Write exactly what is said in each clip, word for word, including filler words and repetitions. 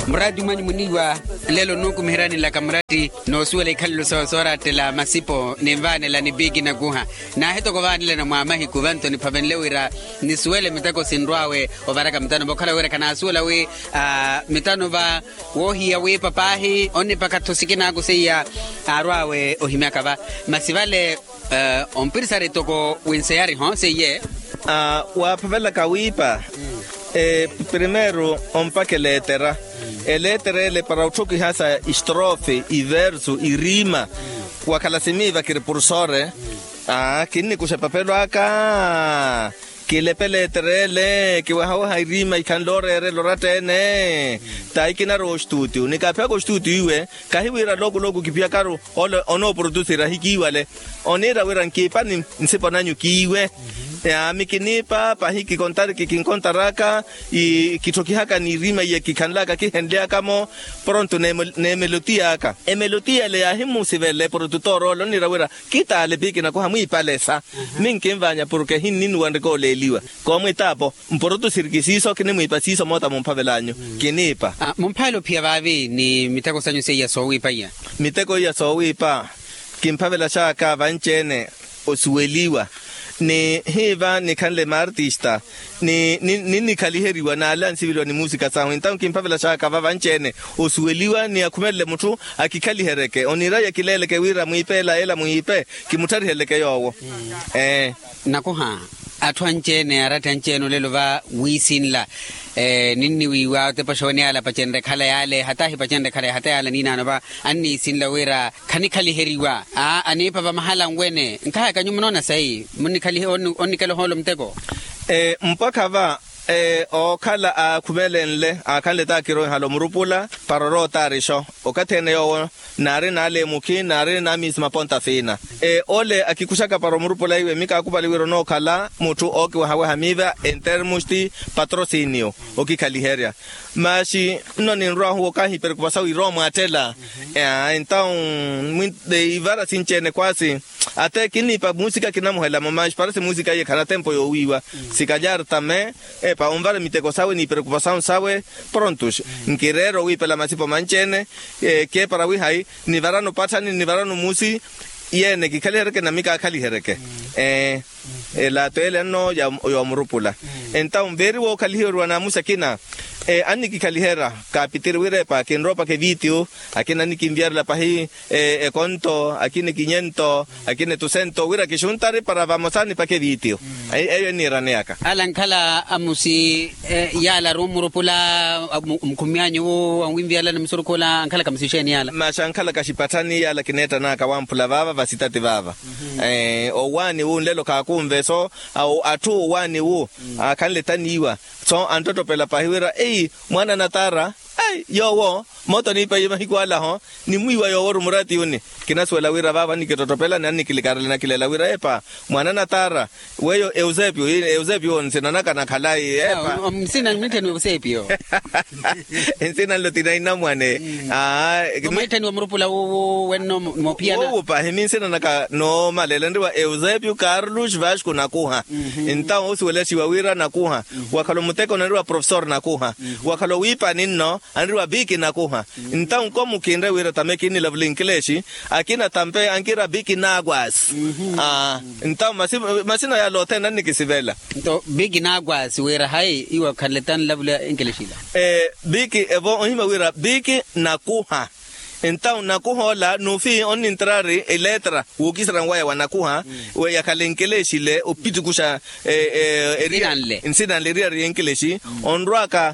Muraati mwanyu muniiwa, nlelo nnuukumiheryani nlaka muraati noosuwela ikhalelo soorattela masipo ninvaanela ni piiki nakuha. Naahi toko vaanelana mwa mahiku vanto niphavenle wira nisuwele miteko sinrw'awe ovaraka mitano va okhala wira khanaasuwela wi mitano va woohiya wiipa paahi onnipakha-tho sikinaaku seiya aarw'awe ohimyaka va. Masi vale ompirisari toko winseyari-ho seiye. Waaphavelaka wiipa. Primeiro ompakha eleetera. Eleetera ele para otthukihasa istrofe iversu irima. Wakhala simiiva kiri pursore. Kinnikuxa epapelo aka. Kilepe eleetera ele kiwehaweha irima ikhanle ooreerela oratta-ene. Tahi kinarowa ostutio nikaaphiyaka ostutio iwe. Kahi wira loku loku kiphiyakaru ole onooprotusira ahikiiwale. Oniira wira nkiipa ni nsipo nanyu kiiwe. Yaami kiniipa pahi kikontariki kinkontaraka. Kitthokihaka n'irima iya kikhanlaka kihenlyaka-mo. Pronto n'emelotia aka emelotia ele yaahimusivela eprotutora ole oniira wira kitaale piiki nakuha mwiipalesa. Minkinvaanya porke hinninuwanrika oleeliwa. Koomwitaapo mprotusiriki siiso kinimwiipa siiso moota mumphavel'anyu. Kiniipa. Mumphavela ophiya vaavi ni miteko sanyu seiya soowiipa iya. Miteko iya soowiipa kimphavelaxaka vanci-ene osuweliwa ni hiiva nikhanle maartista ni ninnikhaliheriwa n'ale ansiveliwa ni muusika sahu entawu kimphavelaxaka va vanci-ene osuweliwa ni akhumelele mutthu akikhalihereke oniira yakileeleke wira mwiipe ela ela mwiipe kimuttharihelleke yoowo. Ee. Nakuha atthu anci-ene aratta anci-ene olelo va wiisinla. Ninniwiiwa otepaxa wene yaala apacenre ekhala yaale hata ahipacenre ekhala hata yaala niinaano va anniisinla wira khanikhaliheryiwa. Aniipa vamahala nwene nkahaka nyuwo munoona sayi munnikhalihe onnikela ohoolo muteko. Mpakha va ookhala aakhumelenle aakhanle taakiroihala omurupula para orootaarixo okathi ene yoowo naari naale mukhi naari naamiisi maponta fiina. Ole akikuxaka para omurupula iwe mikaakupali wira onookhala mutthu ookiwehaweha miiva entermusti patrosinio okikhaliherya. Maxi nno ninrw'ahu okahi pereokupasawu irowa mwaattela. Entawu ivara sinci-ene kwaasi ate kinniipa muusika kinamuhelamo maxi parasi muusika iye khana tempo yoowiiwa. Sikalyari tame epa onvara miteko sawe n'ipereokupasawu sawe. Prontos nkireera owiipela masipo manci-ene. Keepara wihayi nivarano patthani nivarano muusi. Yeene kikhalihereke nami kaakhalihereke. Ee. Elato ele nno yoomurupula. Entawu veeri wookhaliheryiwa n'amusi akina annikikhaliherya kaapitiri wira epa kinroopaka evitiyo. Akina annikinviyarela pahi ekonto akina ekinyento akina etusento wira kixuntari para vamosa nipaka evitiyo. Eyo enniiraneyaka. Ala ankhala amusi yaala ari omurupula mukhumiyanyu wu anwinviyarela ni musurukhu ola ankhalaka amusi exeeni yaala. Maxi ankhalaka axipatthani yaala kineettan'aka wamphula vaava vasitati vaava. Owaani wu nlelo khaakunve so atthu owaani wu aakhanle taniiwa so anttottopela pahi wira eyi mwaana natara. Yoowo moota oniipa iye mahiku alaho nimwiiwa yoowo ori muraati yuni. Kinasuwela wira vaavo annikittottopela ni annikilikaarela nakileela wira epa mwaana natara. Weyo eusepio eusepio nsinanaka nakhalayi epa. Nsina nmittheni eusepio. Nsina nlo tinainamwane. Mwaittheni wa murupula wuwu wenno moophiyana. Wuwu pahi minsinanaka noomaleela nriwa eusepio carlos vasco nakuha. Entawu osuwelaxiwa wira nakuha wakhala omuteko nanriwa profesor nakuha. Wakhala owiipani nno anriwa piiki nakuha. Entawu nkomu kinre wira tame kinnilavula inkilexi akina tampe ankiira piiki nakwasi. Entawu masina yala othene annikisivela. Nto piiki nakwasi wira hayi iwe okhanle tanlavula inkilexi ila. Piiki evo ohima wira piiki nakuha. Entawu nakuha ola nuufi onnintrari eletra wookisera nwaya wa nakuha. Yakhala enkeleshi ile opitikuxa nsina nle eriyari y'enkeleshi. Onrwaka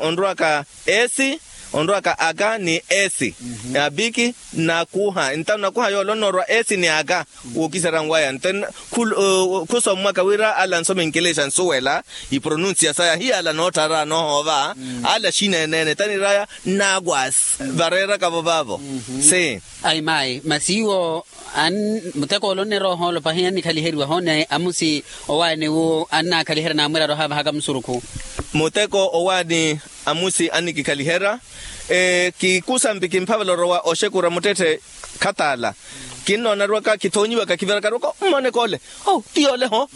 onrwaka esi onrwaka aka ni esi. Apiki nakuha entawu nakuha yoole onoorwa esi ni aka. Wookisera nwaya nte khusommwaka wira ala ansoma enkeleshi ansuwela ipronunsiya saya hiyaala nootthara noohoova. Ala xineenene taniraya nnakwasi vareerakavo vaavo. Si. Ayi mayi masi iwo muteko ole onneroha olopa hiya annikhaliheriwaho ni amusi owaani wu annakhaliherya naamwiraru ohaavahaka musurukhu. Muteko owaani amusi annikikhaliherya. Kikusampi kimphavela orowa oxekura muttetthe khataala. Kinnoonarwaka kithoonyiwaka kiviraka arwaka mmoneke ole. Ti yoole ho.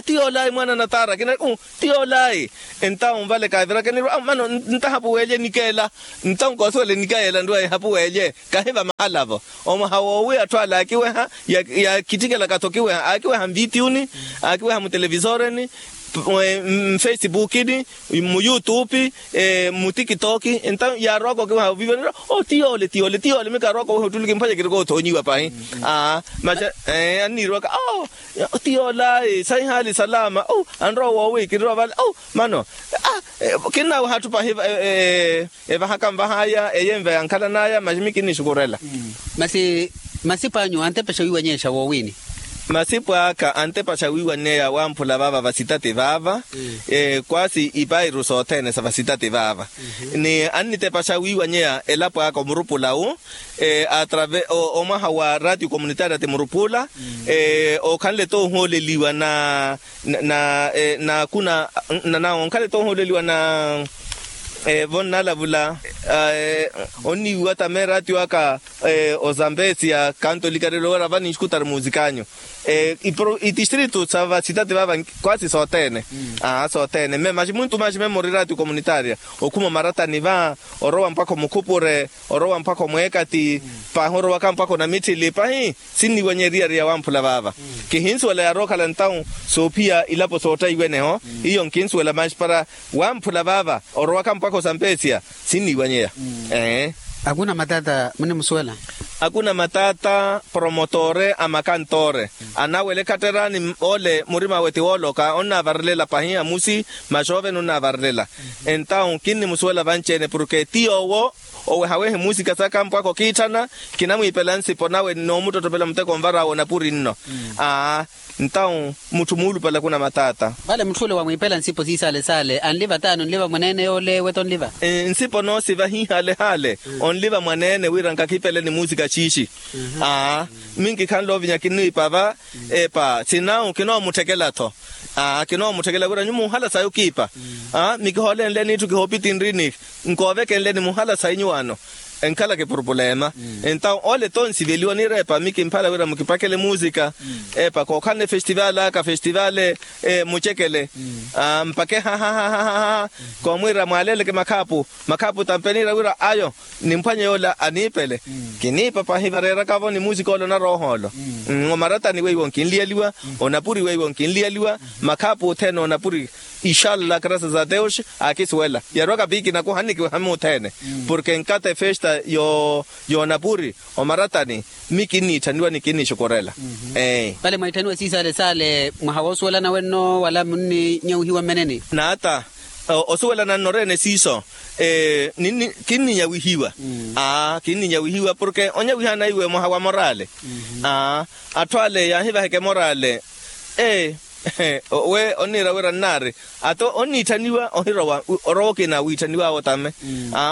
Ti yoole ayi mwaana natara kinari. Ti yoole ayi. Entawu vale kaaviraka nirwa mano ntahapu weelye nikeela. Entawu koosuwela enikeela nrwa ehapu weelye. Kahiva mahala-vo. Omwaha woowi atthu ale aakiweha. Yaakittikelaka-tho okiweha aakiweha mvitiyuni. Aakiweha mutelevisoreni. Mfesipukini. Muyutupi. Mutikitok. Entawu yaarowaka okiweha oviiva nirwa. Ti yoole ti yoole ti yoole mikaarowaka oweha ottuluki mphwanya kirikoothonyiwa pahi. Maxa anniirowaka. Ti yoole ayi sahihaali salama. Anrowa woowi kirirowa vale. Mano kinnaweha atthu pahi. Evahaka nvahaya eyenva yankhalanaya masi mi kinnixukurela. Masi masipo anyu antepexa wiiwanyexa woowini? Masipo aka antepexa wiiwanyeya wamphula vaava vasitati vaava. Kwasi ipairu sothene sa vasitati vaava. Ni annitepexa wiiwanyeya elapo aka omurupula wu. Atrave omwaha wa ratio communitaria ti murupula. Okhanle toohooleliwa na na na na kuna na na onkhale toohooleliwa na vonnalavula. Onniiwiwa tame ratio aka ozambesia kanto likarelo wera vani nxikutari muzikanyu. Itistritu sa vasitati vava kwasi sothene. Sothene mme maxi muntu maxi mme muri ratio communitaria okhuma omaratani va orowa mpakha omukhupure orowa mpakha omweekati. Pahi orowaka mpakha onamitthili pahi. Sinniiwanye eriyari ya wamphula vaava. Kihinsuwela yaarookhala ntawu soophiya ilapo soottaiwene-ho. Iyo nkinsuwela manxi para wamphula vaava orowaka mpakha osampesia. Sinniiwanyeya. Akuna matata munimusuwela? Akuna matata promotore a makantoore anawela ekhatterani ole murimawe ti wooloka onnavarelela pahi amusi. Maxoovene onnavarelela. Entawu kinnimusuwela vanci-ene porke ti yoowo owehawehe muusika saka mpwakha okiitthana. Kinamwiipela nsipo nawe noomuttottopela muteko onvar'awe onapuri nno. Aa ntawu mutthu muulupale akuna matata. Vale mutthu ole wamwiipela nsipo siisaale saale anliva taani onliva mwaneene yoole weto onliva? Nsipo noosiva hihaale haale onliva mwaneene wira nkakhipele ni muusika xiixi. Aa minkikhanle ovinya kinniipa va. Epa sinawu kinoomutthekela-tho. Aa kinoomutthekela wira nyu muhala sayi okiipa. Aa mikiholenleni itthu kihoopitinrini. Nkoovekenleni muhala sayi nyuwaano enkhala kipurupulema. Entawu ole toonsiveliwa nireepa mikimphala wira mukipakele muusika. Epa kookhalana efestivaali aka festivaali mucekele. Mpake hahahahaha koomwiira mwaaleleke makhaapu. Makhaapu tampe niira wira ayo nimphwanye yoola aniipele. Kiniipa pahi vareeraka-vo ni muusika ole onarowa ohoolo. Omaratani weiwo nkinliyaliwa. Onapuri weiwo nkinliyaliwa. Makhaapu othene onapuri ixalla graças a deus. Akisuwela yarowaka piikinakuha annikiweha muthene porke nkata efesta y'onapuri omaratani mi kinniitthaniwa ni kinnixukurela. Vale mwaitthaniwa siisaale saale mwaha woosuwelana wenno wala munninyawihiwa mmeneni? Naata osuwelana nnoreene siiso. Kinninyawihiwa. Aa kinninyawihiwa porke onyawiha anaiwe mwaha wa moraale. Aa atthu ale yaahivaheke moraale. Ee we onniira wira nnaari ata onniitthaniwa ohirowa orowa okina wiitthaniw'awe otame.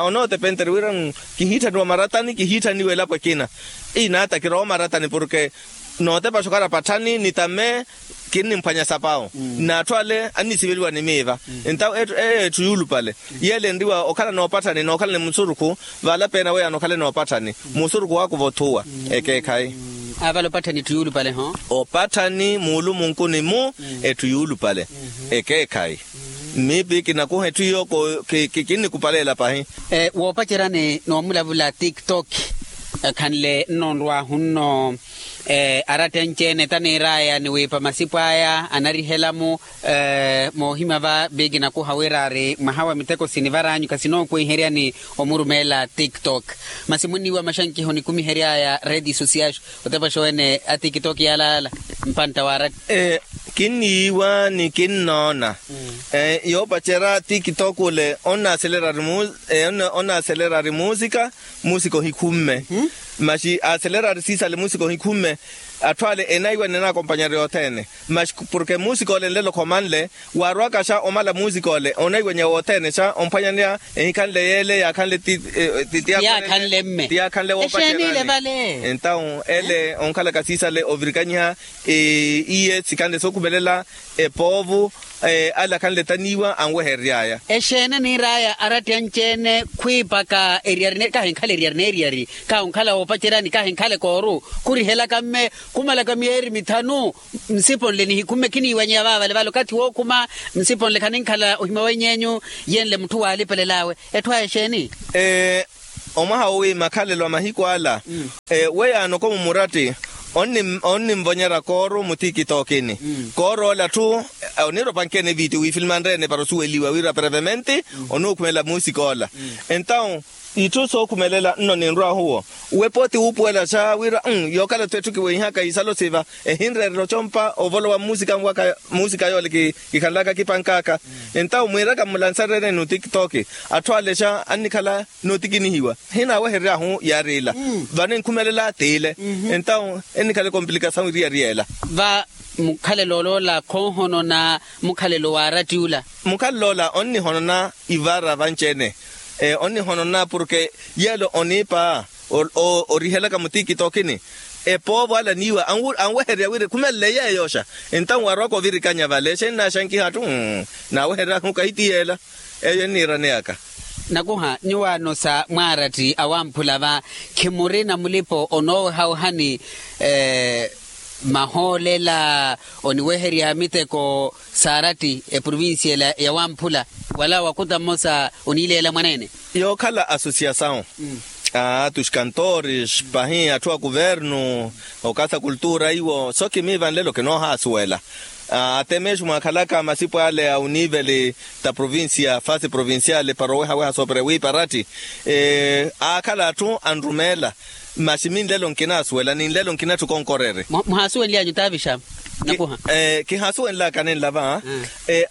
Onootepentere wira kihiitthaniwa maratani kihiitthaniwa elapo ekina. Inaata kirowa maratani porke nootepaxa okhala patthani ni tame kinnimphwanya sapawu. N'atthu ale annisiveliwa ni miiva. Entawo eyo etthu yuulupale yeele enriwa okhala noopatthani nookhala ni musurukhu. Vaala peena weyaano okhale noopatthani musurukhu waakuva othuwa. Ekeekhayi. Aavale opatthani etthu yuulupale-ho. Opatthani muulumunkuni-mu etthu yuulupale. Ekeekhayi. Mmiipi kinakuha etthu iyo kinnikupaleela pahi. Woopaceryani noomulavula tiktok ekhanle nno onrw'ahu-nno. Aratta anci-ene taniir'aya ni wiipa masipo aya anarihela-mu. Moohimya va biiki nakuha wira ari mwaha wa miteko sinivar'anyu khasinookuwiheryani omurumeela tiktok. Masi munniiwa maxankiho nikumihery'aya redes sociais otepaxa wene a tiktok yaalala mpantta wa aratta. Kinniiwa ni kinnoona yoopacerya tiktok ole onnaaselerari muusika. Muusika ohikhumme. Masi aaselerari siisale muusika ohikhumme. Atthu ale enaiwa ni enaakompanyerya othene. Masi porke muusika ole nlelo khomanle waarowaka xa omala muusika ole onaiwanya wothene xa omphwanyaneya ehikhanle yeele yaakhanle ti ti ti yaakhanle mme ti yaakhanle woopacerya. Entawo ele onkhalaka siisale ovirikanyiha iye sikhanle sookhumelela epoovu. Ala akhanle taniiwa anweherery'aya. Exeene niir'aya aratti anci-ene khwiipaka eriyari kahinkhala eriyari n'eriyari kahi onkhala woopaceryani kahinkhala ekooru khurihelaka mme khumalaka miyeeri mithanu nsipo nle nihikhumme khiniiwanyeya vaavale vale okathi wookhuma nsipo nle khaninkhala ohimya weny'enyu yenle mutthu waalipelel'awe etthu aya exeeni? Omwaha wowi makhalelo a mahiku ala weyaano komu muratti onninvonyerya kooru mu tikitokini. Kooru ole atthu oniira opankeni evitiyo wifilmanrye-ene para osuweliwa wira prevemente onuukhumela muusika ola. Entawu itthu sookhumelela nno ninrw'ahu wo wepo ti wuupuwelaxa wira yookhala-tho etthu kiweihaka isalo siva ehinreerela ocompa ovolowa mmuusika yole kikhanlaka kipank'aka. Entawu mwiiraka mmulansaryeni ni otikitoki atthu alexa annikhala nootikinihiwa. Hinaaweherery'ahu yaari ila vano enkhumelela t'ile. Entawu ennikhala ekomplikasawu eriyari ela. Va mukhalelo oloola khoohonona mukhalelo waaratti ula. Mukhalelo ola onnihonona ivaara vanci-ene onnihonona porke yeelo oniipa orihelaka mu tikitokini epoovo ala niiwa anwehererya wira ekhumelele yeeyoxa. Entawu waarwaka ovirikanya vale exeeni naaxankiha atthu naaweherery'ahu kahi ti yeela. Eyo enniiraneyaka. Nakuha nyuwaano sa mwaaratti awamphula va khimurina mulipo onoowehawehani mahoolela oniweherya miteko saaratti eprovincia ela yawamphula wala wakuta mmosa oniileela mwaneene. Yookhala asosiasawu a tus kantores pahi atthu a kuvernu okasa kultura iwo so kimiiva nlelo kinoohaasuwela. Atemexu mwaakhalaka masipu ale a univeli ta provincia fasi provinciale para owehaweha sooperya wiipa aratti aakhala atthu anrumeela. Masi minlelo nkinaasuwela ninlelo nkinatthi okonkoreerya. Muhaasuwenly'anyu taavixama nakuha. Kihaasuwenlaka ninla va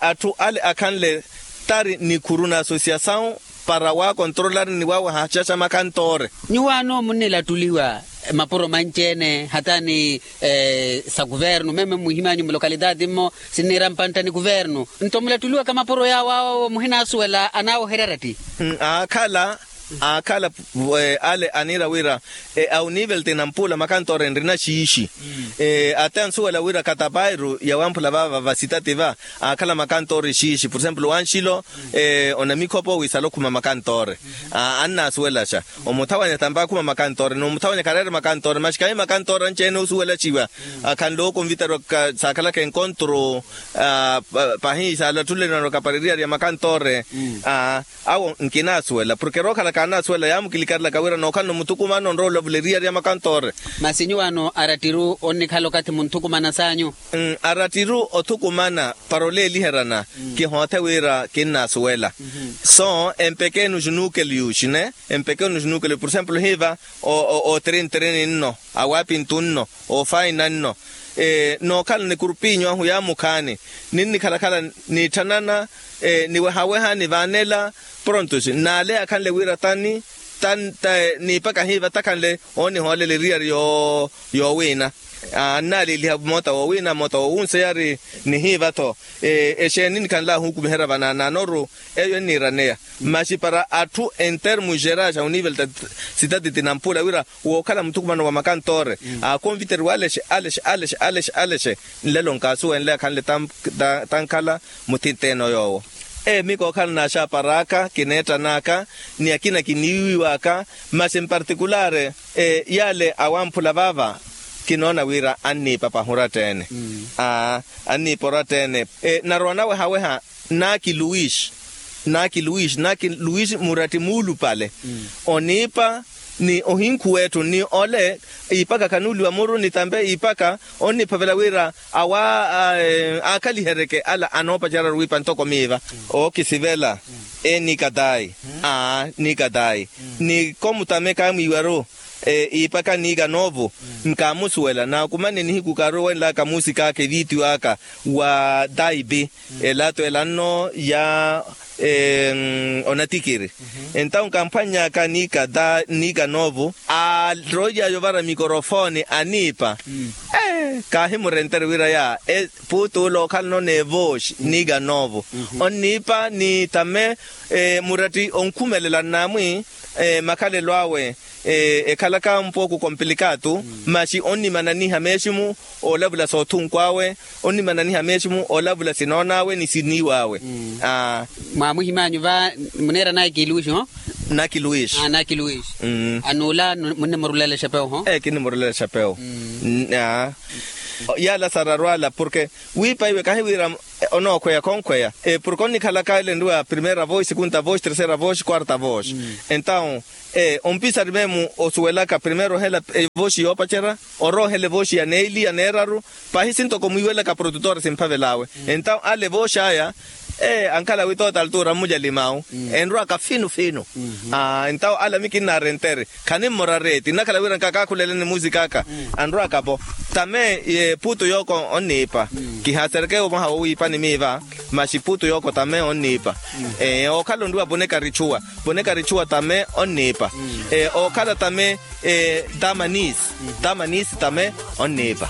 atthu ale akhanle tari nikhuru na asosiasawu para waakontrolari ni waaweha xaxa makhantoore. Nyuwaano munnilattuliwa mapuro manci-ene hata ni sa kuvernu meme mmuhimyanyu mulokalitati mmo sinniira mpantta ni kuvernu nto mulattuliwaka mapuro yaawo awo muhinaasuwela anaaweherya aratti. Aakhala aakhala ale aniira wira a univeli ti nampuula makantoore nrina xiixi. Ate ansuwela wira katapairu yawamphula vaava vasitati va aakhala makantoore xiixi por exemplo wanxilo onamikhopo wiisala okhuma makantoore. Annaasuwelaxa omuthawanya tampa akhuma makantoore n'omuthawanya khareere makantoore maxi khahi makantoore anci-ene osuwelaxiwa akhanle okonviteriwa saakhalaka enkontru pahi saalatthulenano kapareriyari ya makantoore. Awo nkinaasuwela porke rookhala kaanaasuwela yaamukilikarilaka wira nookhalana omuthukumano onrowa olavula eriyari ya makantoore. Masi nyuwaano arattiru onnikhala okathi munthukumana saanyu? Arattiru othukumana para oleeliheryana kihoothe wira kinnaasuwela. So empeke enuxi nuukeliuxi ne empeke enuxi nuukeliuxi por exemplo hiiva otirintirini nno awaapintu nno oofaina nno nookhala ni kurupinyu ahu yaamukhaani ninnikhalakhala niitthanana niwehaweha nivaanela prontos n'ale akhanle wira tani tani niipaka hiiva takhanle oonihoolela eriyari yoowiina annaaliiliha mmoota woowiina mmoota woowunseyari nihiiva-tho exeeni nikhanle ahuukumiherya vanaanaanoru eyo enniiraneya. Masi para atthu entermu gerais a univeli ta sitati ti nampuula wira wookhala muthukumano wa makantoore aakonviteriwa alexe alexe alexe alexe alexe nlelo nkaasuwenle akhanle tankhala muthint'ene oyoowo. Emi kookhalanaxa par'aka kineettan'aka ni akina kiniiwiw'aka masi mpartikulaari yaale awamphula vaava kinoona wira anniipa pahi oratta-ene. Anniipa oratta-ene narowa nawehaweha naaki luis naaki luis naaki luis muratti muulupale oniipa ni ohinkhuw'etthu ni ole iipaka khanuuliwa muru ni tampe iipaka onniphavela wira awa aakhaliheryeke ala anoopacerya-ru wiipa ntoko miiva ookisivela ee nikatayi aa nikatayi ni komutame kaamwiiwa-ru iipaka niika noovo nkaamusuwela naakumane nihiku kaarowenlaka muusik'aka eviitiyo aka wa taipi elato ela nno ya onatikiri entawu nkamphwanny'aka niika noovo aaroily'aya ovara mikorofooni aniipa kaahimurentere wira ya puutu ula ookhalana oneevooxi niika noovo onniipa ni tame muratti onkhumelela nnaamwi makhalelo awe Ekhalaka mpooku kompilikatu. Maxi onnimananiha meeximu, olavula soothunku awe, onnimananiha meeximu olavula sinoon'awe ni siniiw'awe. Mwaamuhimanyu va muneera naki luis ho? Naki luis. Naki luis. Anuula munnimurulela exepewo ho? Kinnimurulela exepewo. Yaala sararu ala porke wiipa iwe kahi wira onookhweya khonkhweya. Porke onnikhalaka ele nriwa primeira vosi sekunta vosi tersera vosi kwarta vosi. Entaw ompisari memu osuwelaka primeiro ohela evoxi yoopacerya, oroohela evoxi ya neili ya neeraru. Pahi sintoko mwiiwelaka produtor simphavel'awe. Entaw ale evoxi aya ankhala witoota altura mmujalim'awu enrwaka finu finu. Entaw ale amikinnaari entere khanimmora reeti nnakhala wira nkakaakhuleleni musika aka. Anrwaka-vo tame puutu yooko onniipa. Kihaasereke omwaha wowiipani miiva. Maxi puutu yooko tame onniipa. Ookhala onriwa ponekari txuwa, ponekari txuwa tame onniipa. Ookhala tame tamanis, tamanis tame onniipa.